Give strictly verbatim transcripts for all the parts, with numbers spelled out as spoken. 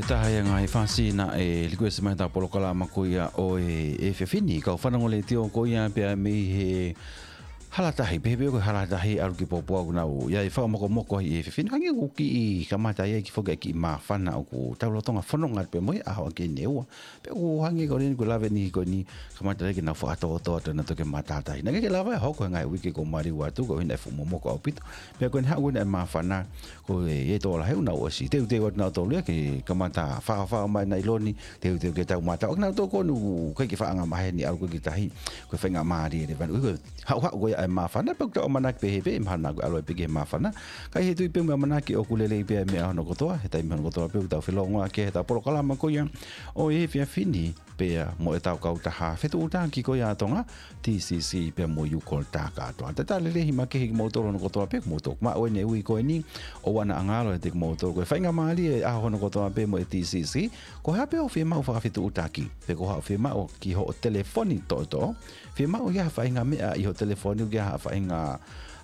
Taha ia ngaahi fasi naʻe likuesi mai ʻetau polokalama ko ia ʻo e efiafi ni, kau fanongo letiō ko ia pea mei he Halatahi, pehē pē ko e Halatahi ʻalu ki Popou, ʻoku nau ʻi ai e fakamokomoko ʻi he efiafi ni. Hangē ʻoku kiʻi kamata ai e kiʻi foki e kiʻi māfana ʻoku tau lolotonga fononga pē mo ia ʻaho ʻaki ʻeni ʻe ua. Pea ʻoku hangē ko eni ko e lave ni ko eni kamata lelei ke nau fakatōtō atu ʻenau toki matātahi. Naʻe ʻikai ke lava ia ʻo hoko he ngaahi uike kuo maliu atu, ko e ʻuhinga e fuʻu momoko ʻaupito. Pea ko eni haʻu ʻeni e māfana, ko e, ʻi he tokolahi ʻoku nau ʻosi teuteu atu nautolu ia ke kamata faofao mai nailoni, teuteu ke tau mātau. ʻA kinautolu ko eni ʻoku ʻikai ke faʻa angamaheni ʻalu ko ē ki tahi, ko e faingamālie leva eni. Ko e haʻuhaʻu ko ia e māfana, pea ʻoku tau ʻamanaki pehē pē, mahalo naʻa ku ʻalu ai pē ki he māfana. Ka ʻi he tui pē mo e ʻamanaki ʻoku lelei pē ʻa e meʻa hono kotoa, he taimi hono kotoa pē ʻoku tau felōngoaki he ʻetau polokalama ko ia ʻo e efiafi ni, pea mo ʻetau kautaha fetuʻutaki ko ia ʻa Tonga, T C C pea mo e U-Call Takatoa. Tatau lelei makehe kimoutolu hono kotoa pē, kimoutolu maʻu ʻeni e ui ko eni, ʻoua naʻa ngalo ʻiate kimoutolu. Ko e faingamālie e ʻaho hono kotoa pē mo e T C C, ko e hā pē hoʻo fiemaʻu fakafetuʻutaki, pe ko haʻo fiemaʻu ki hoʻo telefoni toʻotoʻo, fiemaʻu ia ha faʻahinga meʻa ʻi hoʻo telefoni, ʻoku ʻi ai ha faʻahinga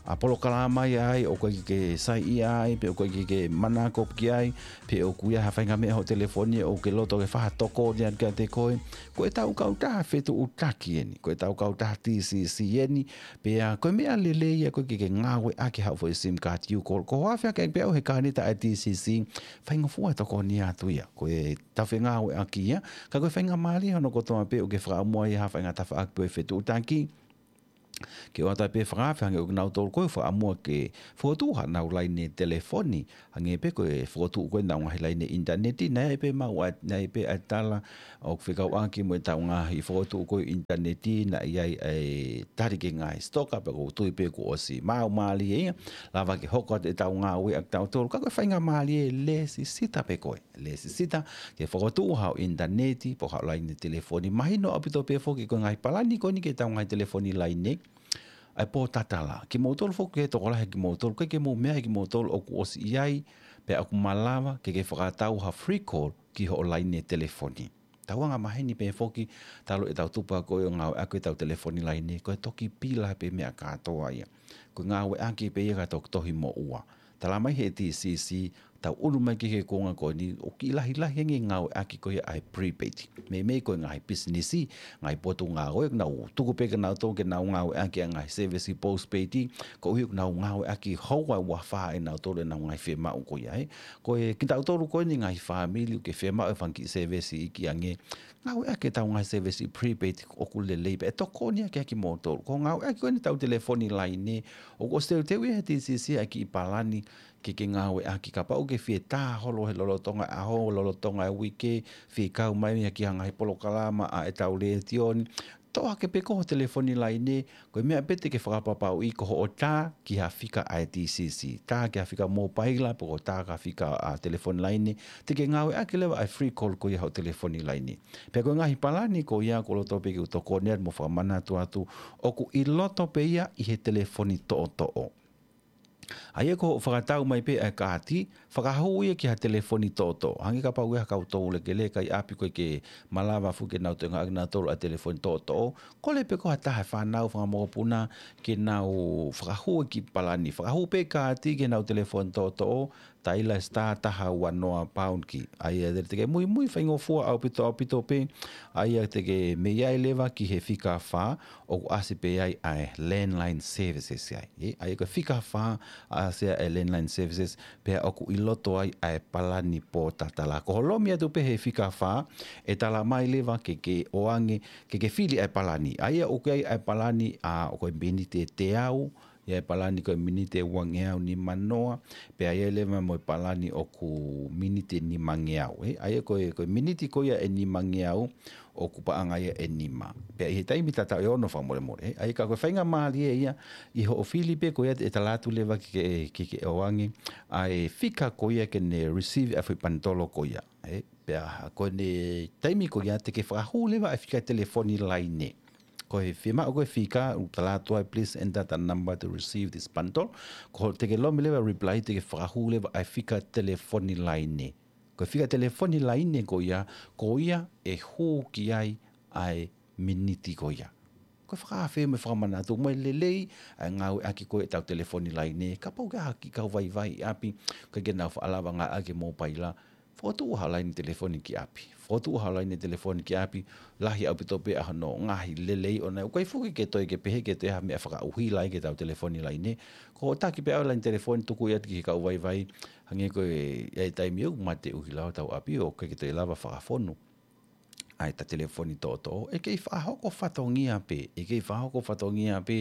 ʻa polokalama ia ai, ʻoku ʻikai ke saiʻia ai, pe ʻoku ʻikai ke manako ki ai, pe ʻoku ʻi ai ha faʻahinga meʻa hoʻo telefoni, ʻoku ke loto ke fai ha tokoni atu kiate koe. Ko ʻetau kautaha fetuʻutaki ʻeni, ko ʻetau kautaha T C C ʻeni, pea ko e meʻa lelei ia ʻoku ʻikai ke ngāueʻaki haʻo foʻi SIM card U-Call. Ko hoʻo afe hake pē ʻo ʻave he kāneta ʻa e T C C, faingofua e tokoni atu ia. Ko e tafe ngāueʻaki ia, ka ko e faingamālie hono kotoa pē ʻoku ke fakaʻamua ia ha faʻahinga tafaʻaki pe ko e fetuʻutaki, ke ʻoatu ai pē fakaafe, hangē ko kinautolu ko ē ʻoku fakaʻamua ke fokotuʻu haʻanau laine telefoni, hangē pē ko e fokotuʻu ko ē ʻenau ngaahi laine ʻinitaneti, naʻe ʻi ai pē maʻu ʻa, naʻe ʻi ai pē ʻa e tala ʻoku fekauʻaki mo ʻetau ngaahi fokotuʻu ko ē ʻinitaneti, naʻe ʻi ai e tali ki he ngaahi sitoka, pea ʻoku ou tui pē kuo ʻosi maʻu mālie ia, lava ke hoko atu ʻetau ngāue ʻa kitautolu, ka ko e faingamālie lēsisita pē ko ē. Lēsisita ke fokotuʻu haʻo ʻinitaneti, pe ko haʻo laine telefoni. Mahino ʻaupito pē foki ko e ngaahi palani ko eni ki heʻetau ngaahi telefoni laine, ʻa e pōtatala. Kimoutolu foki ko e tokolahi kimoutolu, ʻikai ke mou meaʻi kimoutolu ʻoku ʻosi ʻi ai, pea ʻoku malava ke ke fakatau ha free call ki hoʻo laine telefoni. Tau angamaheni pē foki, talu ʻetau tupu ko ē ʻo ngāueʻaki ʻetau telefoni laine, ko e toki pila pē meʻa kātoa ia. Ko e ngāueʻaki pē ia ka toki tohi moʻua. Tala mai he T C C, tau ʻunu mai ki he kuonga ko eni, ʻoku kiʻi lahilahi ange e ngāueʻaki ko ia ʻa e prepaid. Meimei ko e ngaahi pisinisi, ngaahi potungāue, ʻoku nau tuku pē kinautolu ke nau ngāueʻaki ʻa e ngaahi service postpaid, koeʻuhi ʻoku nau ngāueʻaki houa ʻe ua fā ʻe nautolu ʻenau ngaahi fiemaʻu ko ia, ē. Ko e kitautolu ko eni ngaahi fāmili ʻoku ke fiemaʻu e fanga kiʻi service iiki ange, ngāueʻaki ʻetau ngaahi service prepaid ʻoku lelei pē, ʻe tokoni ange kiate kimoutolu. Ko e ngāueʻaki ko eni ʻetau telefoni laine, ʻoku ʻosi teuteu ia he T C C ʻa e kiʻi palani ke ke ngāueʻaki kapau ʻoku ke fie tā holo he lolotonga e ʻaho, lolotonga e uike, fie kau mai ia ki ha ngaahi polokalama ʻa ʻetau letiō ni. Toʻo hake pē ko hoʻo telefoni laine, ko e meʻa pē te ke fakapapauʻi ko hoʻo tā ki ha fika ʻa e T C C. Tā ki ha fika mōpaila, pe ko e tā ki ha fika ʻa e telefoni laine, te ke ngāueʻaki leva ʻa e free call ko ia hoʻo telefoni laine. Pea ko e ngaahi palani ko ia ʻoku ou loto pē ke u tokoni atu mo fakamanatu atu, ʻoku ʻi loto pē ia ʻi he telefoni toʻotoʻo. ʻA ia ko hoʻo fakatau mai pē ʻa e kaati, fakahū ia ki ha telefoni toʻotoʻo. Hangē kapau ʻoku ʻi ai ha kau toulekeleka ʻi ʻapi ʻoku ʻikai ke malava foki ke nau toe ngāueʻaki ʻe nautolu ʻa e telefoni toʻotoʻo, kole pē ko ha taha e fānau, fanga mokopuna, ke nau fakahū e kiʻi palani. Fakahū pē kaati ki heʻenau telefoni toʻotoʻo, taila e star taha ua noa pound key. ʻA ia te ke muimui faingofua ʻaupito, ʻaupito pē, ʻa ia te ke mei ai leva ki he fika fā, ʻoku ʻasi pē ai ʻa e landline services ai. Ē, ʻa ia ko e fika fā ʻasi ai e landline services, pea ʻoku ʻi loto ai ʻa e palani pōtatala. Ko hoʻo lomi atu pē he fika fā, ʻe tala mai leva ke ke ʻoange, ke ke fili ʻa e palani. ʻA ia ʻoku ʻi ai ʻa e palani ʻa, ʻoku ʻi ai e miniti ʻe teau, ʻi ai e palani ko e miniti ʻe uangeau nimanoa, pea ʻi ai leva mo e palani ʻoku miniti ʻe nimangeau, ē? ʻA ia ko e, ko e miniti ko ia ʻe nimangeau, ʻoku paʻanga ia ʻe nima. Pea ʻi he taimi tatau ʻe ono fakamolemole, ē? ʻA ia ka ko e faingamālie ia, ʻi hoʻo fili pē ko ia ʻe tala atu leva ke, ke, ke, ke ʻoange ʻa e fika ko ia ke ne receive ʻa e foʻi panitolo ko ia, ē? Pea ko ʻene taimi ko ia te ke fakahū leva ʻa e fika telefoni laine. Ko e fiemaʻu ko ē fika, ʻoku tala atu ai, "Please enter the number to receive this bundle." Ko te ke lomi leva reply, te ke fakahū leva ʻa e fika telefoni laine. Ko e fika telefoni laine ko ia, ko ia ʻe hū ki ai ʻa e miniti ko ia. Ko e fakaafe mo e fakamanatu mo e lelei ʻa e ngāueʻaki ko ē ʻetau telefoni laine. Kapau ʻoku ʻi ai ha kiʻi kau vaivai ʻi ʻapi, ʻoku ʻikai ke nau faʻa lava ngāueʻaki e mōpaila, Fokotuʻu ha laine telefoni ki ʻapi. Fokotuʻu ha laine telefoni ki ʻapi, lahi ʻaupito pē ʻa hono ngaahi lelei ʻona. ʻOku ʻikai foki ke toe ke pehē ke toe ha meʻa fakaʻuhila ai ki heʻetau telefoni laine. Ko hoʻo taki pē ʻa e laine telefoni tuku ia ki he kau vaivai, hangē ko e, ʻi he taimi ʻoku mate ʻuhila hotau ʻapi ʻoku ʻikai ke toe lava fakafonu ʻa ʻeta telefoni toʻotoʻo, ʻe kei fakahoko fatongia pē, ʻe kei fakahoko fatongia pē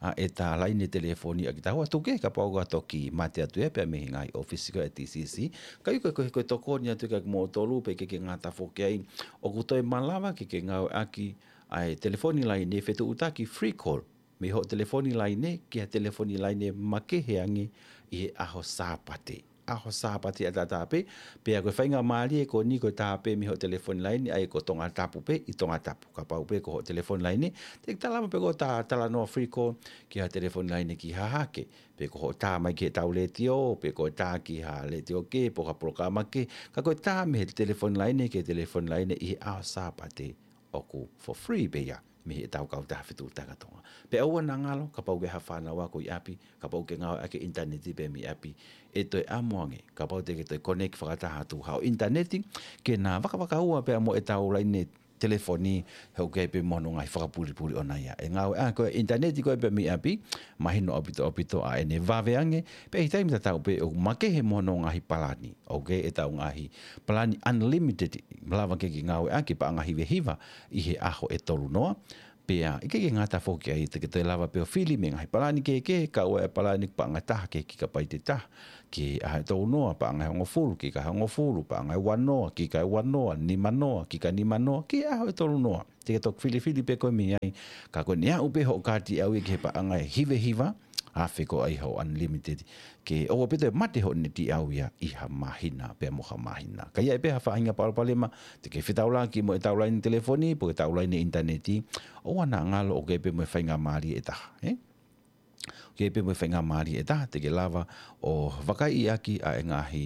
ʻa ʻeta laine telefoni ʻa kitaua, tuku kehe kapau ʻoku toki mate atu ia pea mei he ngaahi ʻōfisi ko ē ʻa e T C C. Ka ʻoku ʻikai ko e, ko e tokoni atu ia kiate kimoutolu pea ʻikai ke ngata foki ai, ʻoku toe malava ke ke ngāueʻaki ʻa e telefoni laine fetuʻutaki, free call, mei hoʻo telefoni laine ki ha telefoni laine makehe ange ʻi he ʻaho Sāpate. ʻAho Sāpate ʻataʻatā pē, pea ko e faingamālie ko eni ko e tā pē mei hoʻo telefoni laine, ʻa ia ko Tongatapu pē ʻi Tongatapu. Kapau pē ko hoʻo telefoni laine, te ke lava pē ke tā talanoa free call ki ha telefoni laine ki Hahake, pe ko hoʻo tā mai ki heʻetau letiō, pe ko e tā ki ha letiō kehe, pe ko ha polokalama kehe, ka ko e tā mei he telefoni laine ki he telefoni laine ʻi he ʻaho Sāpate, ʻoku for free pē ia mei heʻetau kautaha fetuʻutaki ʻa Tonga. Pea ʻoua naʻa ngalo, kapau ʻoku ʻi ai ha fānau ako ʻi ʻapi, kapau ʻoku ke ngāueʻaki e ʻinitaneti pē mei ʻapi, ʻe toe ʻamu ange, kapau te ke toe connect fakataha atu haʻo ʻinitaneti, ke na vakavakaua pea mo ʻetau laine telefoni, he ʻoku ʻi ai pē mo hono ngaahi fakapulipuli ʻona ia. ʻE ngāueʻaki ko ē ʻinitaneti ko ē pē mei ʻapi, mahino ʻaupito ʻaupito ʻa ʻene vave ange, pea ʻi he taimi tatau pē ʻoku makehe mo hono ngaahi palani. ʻOku ʻi ai ʻetau ngaahi palani unlimited, malava ke ke ngāueʻaki paʻanga hiva hiva ʻi he ʻaho ʻe tolu noa. Pea ʻikai ke ngata foki ai, te ke toe lava pē ʻo fili mei he ngaahi palani kehekehe, kau ai e palani paʻanga ʻe taha ki he kikapaiti ʻe taha, ki he ʻaho ʻe tolu noa, paʻanga ʻe hongofulu, kika ʻe hongofulu, paʻanga ʻe ua noa, kika ʻe ua noa, nima noa, kika nima noa, ki he ʻaho ʻe tolu noa. Te ke toki filifili pē koe mei ai, ka ko ʻene aʻu pē hoʻo kaati ʻe ʻalu ia ki he paʻanga ʻe hiva hiva, afe ko ē ʻa hoʻo unlimited, ke ʻoua pē toe mate hoʻo neti ʻalu ia ʻi ha māhina pea mo ha māhina. Ka ʻi ai pē ha faʻahinga palopalema, te ke fetaulaki mo ʻetau laine telefoni, pe ko ʻetau laine ʻinitaneti, ʻoua naʻa ngalo, ʻoku ʻi ai pē mo e faingamālie ʻe taha, ē? ʻOku ʻi ai pē mo e faingamālie ʻe taha, te ke lava ʻo vakaiʻi ʻaki ʻa e ngaahi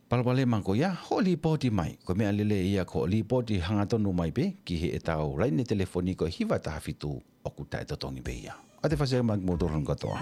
palopalema ko ia, hoʻo līpooti mai. Ko e meʻa lelei ia ko hoʻo līpooti hangatonu mai pē ki heʻetau laine telefoni ko e hiva taha fitu, ʻoku taʻetotongi pē ia. ʻOatu e fasi mai kimoutolu hono kātoa.